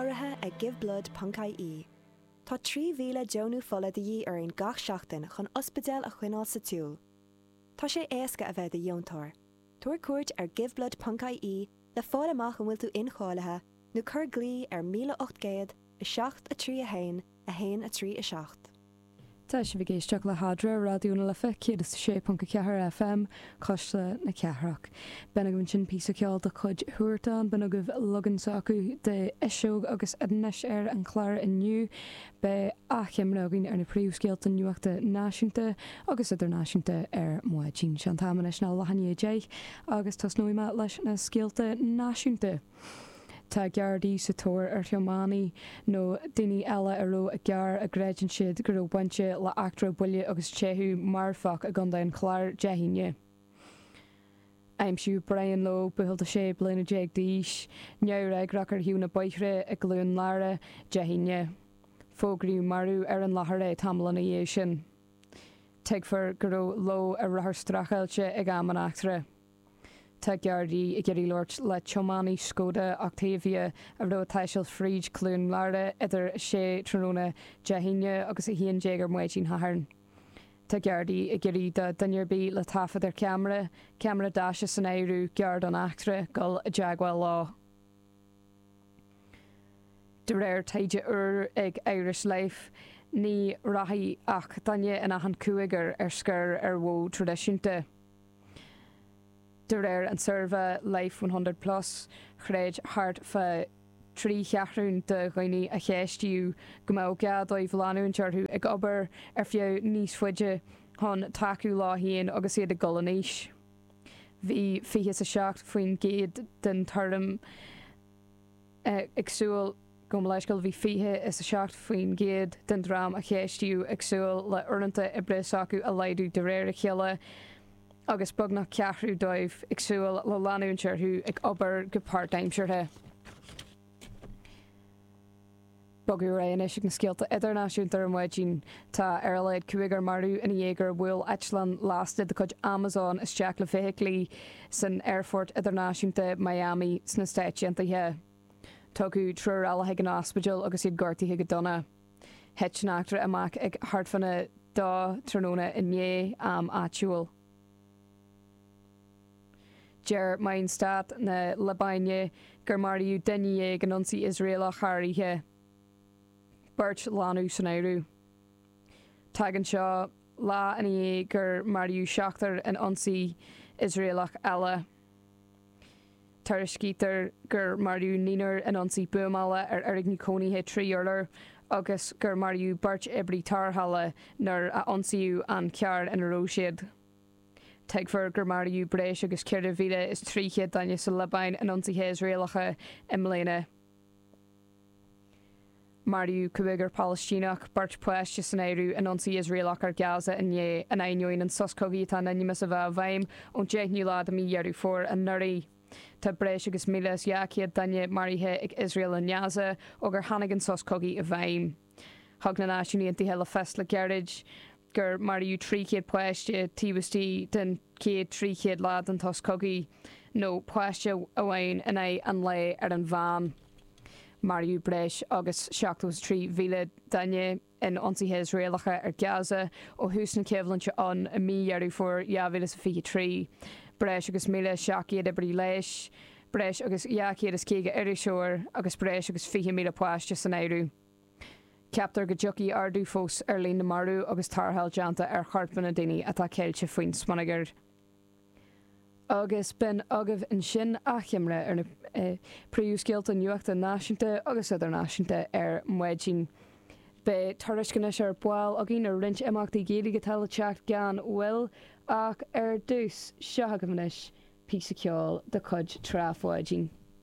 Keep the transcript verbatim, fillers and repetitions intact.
Urraithe ag Giveblood ponc ie. Tá trí mhíle deonú fola de dhíth orainn gach seachtain chun ospidéal a choinneáil sa tsiúl. Tá sé éasca a bheith i do dheontóir. Tabhair cuairt ar Giveblood ponc ie le fáil amach an bhfuil tú incháilithe nó cuir glao ar míle ocht gcéad, a seacht, a trí a haon, a haon a trí a seacht. Tá sibh ag éisteacht le hAdre, Raidió na Life céad is a sé ponc a ceathair F M, Cuisle na Cathrach. B'in agaibh ansin píosa ceoil de chuid Huartan, b'in agaibh leagan s'acu de Fhuiseog agus anois ar an chlár inniu beidh achoimre againn ar na príomhscéalta nuachta náisiúnta agus idirnáisiúnta ar maidin. Sé an t-am anois ná leath i ndiaidh a deich agus tosnóidh mé leis na scéalta náisiúnta. Tá Gardaí sa tóir ar thiománaí nó daoine eile a raibh i gcarr a gcreideann siad go raibh bainte le eachtra buille agus teitheadh marfach i gContae an Chláir Dé hAoine. Aimsíodh Brian Lowe, buachaill de sé bliana déag d'aois, neamhfhreagrach ar thaobh na bóithre i gCluain Lára Dé hAoine. Fógraíodh marbh ar an láthair é tamall ina dhiaidh sin. Tuigtear go raibh Lowe ar rothar streachailte ag am an eachtra. Tá Gardaí ag iarraidh labhairt le tiománaí Skoda Octavia a raibh ag taisteal fríd Cluain Lára idir a sé tráthnóna Dé hAoine agus a haon déag ar maidin Shathairn. Tá Gardaí ag iarraidh do dhuine ar bith le taifead ar cheamara, ceamara daise san áireamh, gar don eachtra, dul i dteagmháil leo. De réir taighde úr ag Irish Life, ní rachaidh ach duine in achan cúigear ar scor ar mhodh traidisiúnta. De réir an suirbhé Life one hundred Plus, chreid thart fá trí cheathrún de dhaoine a ceistíodh go mbeadh gá dóibh leanúint orthu ag obair ar feadh níos faide chun tacú leo féin agus iad ag dul in aois. Bhí fiche a seacht faoin gcéad den tuairim ag súil go leiscail bhí fiche is a seacht faoin gcéad den dream a ceistíodh ag súil le uaireanta oibre s'acu a laghdú de réir a chéile agus beagnach ceathrú dóibh ag súil le leanúint orthu ag obair go páirtaimseartha. Bogadh ar aghaidh anois ag na scéalta idirnáisiúnta ar maidin. Tá ar a laghad cúigear marbh ina dhiaidh gur bhuail eitleán lasta de chuid Amazon isteach le feithiclí san aerfort idirnáisiúnta Miami sna Stáit Aontaithe. Tugadh triúr eile chuig an ospidéal agus iad gortaithe go dona. Thit an eachtra amach ag thart fána dó tráthnóna inné am áitiúil. Deir meáin stáit na Liobáine gur maraíodh duine dhéag in ionsaí Iosraelach thar oíche. Beirt leanbh san áireamh. Tagann seo lá ina dhiaidh gur maraíodh seachtar in ionsaí Iosraelach eile. Tuairiscítear gur maraíodh naonúr in ionsaí buamála ar fhoirgneamh cónaithe trí urlár agus gur maraíodh beirt oibrí tarrthála nuair a ionsaíodh an carr ina raibh siad. Tuigtear gur maraíodh breis agus ceithre mhíle is trí chéad duine sa Liobáin in ionsaithe Iosraelacha i mbliana. Maraíodh cúigear Palaistíneach, beirt páiste san áireamh, in ionsaí Iosraelach ar Gaza inné, in ainneoin an sos cogaidh atá in ainm is a bheith i bhfeidhm ón deichiú lá de mhí Dheireadh Fómhair anuraidh. Tá breis agus míle is dhá chéad duine maraithe ag Iosrael i nGaza ó gur tháinig an sos cogaidh i bhfeidhm. Thug na Náisiúin Aontaithe le fios le gairid gur maraíodh trí chéad páiste taobh istigh den chéad trí chéad lá den sos cogaidh, nó páiste amháin in aghaidh an lae ar an mheán. Maraíodh breis agus seachtó trí mhíle duine in ionsaithe Iosraelacha ar Gaza ó thús na coimhlinte ann i mí Dheireadh Fómhair dhá mhíle is fiche trí. Breis agus míle seacht gcéad oibrí leighis, breis agus dhá chéad is caoga iriseoir agus breis agus fiche míle páiste san áireamh. Ceaptar go dtiocfaidh ardú fós ar líon na marbh agus tarrtháil déanta ar chorpanna daoine atá ceilte faoin smionagar. Agus b'in agaibh ansin achoimre ar na príomhscéalta nuachta náisiúnta agus idirnáisiúnta ar maidin. Beidh tuairisc anois ar ball againn ar roinnt imeachtaí Gaeilge atá le teacht gan mhoill ach ar dtús seo agaibh anois píosa ceoil de chuid Trá Pháidín.